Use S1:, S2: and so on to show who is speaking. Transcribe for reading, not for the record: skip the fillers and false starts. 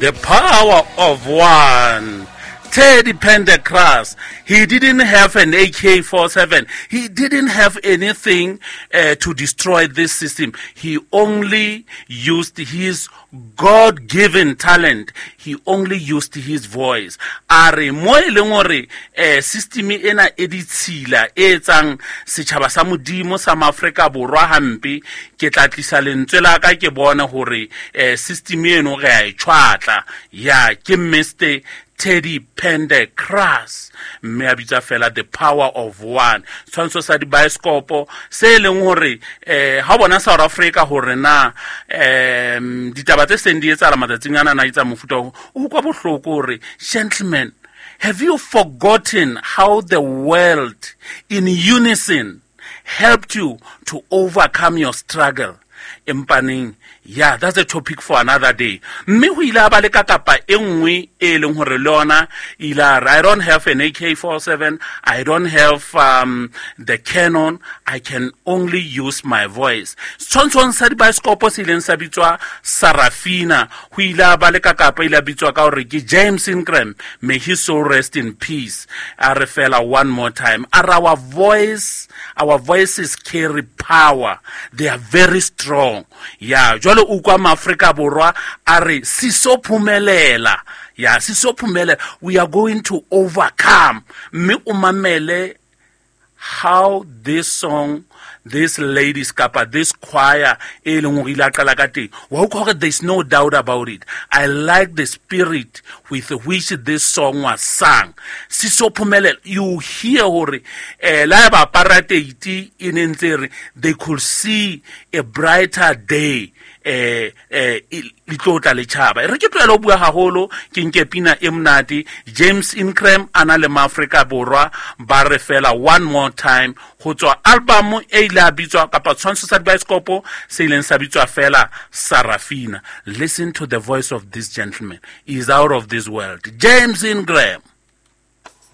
S1: The power of one. Teddy Pendergrass, he didn't have an AK-47. He didn't have anything to destroy this system. He only used his God-given talent. He only used his voice. A re mo e leng hore system ena e ditshila e etsang setjhaba sa Modimo sa Maafrika Borwa hampe, ke tla tlisa lentswe la ka ke bone hore system eno re a e tjhwatla. Ya ke Mr Teddy Pendergrass, mme a bitsa fela The Power of One. Tshwantsho sa dibaeskopo se e leng hore ha o bona South Africa hore na ditaba tse seng di etsahala matsatsing ana na etsa mofuta o utlwa bohloko hore gentlemen, have you forgotten how the world in unison helped you to overcome your struggle? Empaneng, yeah, that's a topic for another day. Mme ho ile a ba le ka kapa e nngwe e leng hore le yona ile a re, I don't have an AK-47, I don't have the cannon, I can only use my voice. Setshwantshong sa dibaeskopo se ileng sa bitswa Sarafina, ho ile a ba le ka kapa ile a bitswa ka hore ke James Ingram, may his soul rest in peace. A re fela one more time, a re our voices carry power, they are very strong. Ya jwale o kwa Maafrika Borwa a re sisophumelela, ya sisophumelela, we are going to overcome. Mme o mamele how this song, this ladies kapa this choir e leng hore ile a qala ka teng, wa utlwa hore there's no doubt about it. I like the spirit with which this song was sung. Sisophumelela, you hear hore la ba apartheid e ne ntse re they could see a brighter day, le tlo tla le tjhaba. E re ke tlohele ho bua haholo, ke nke pina e monate. James Ingram a na le Maafrika Borwa ba re fela one more time ho tswa album e ile a bitswa kapa tshwantsho sa dibaeskopo se ileng sa bitswa fela Sarafina. Listen to the voice of this gentleman. He is out of this world. James Ingram.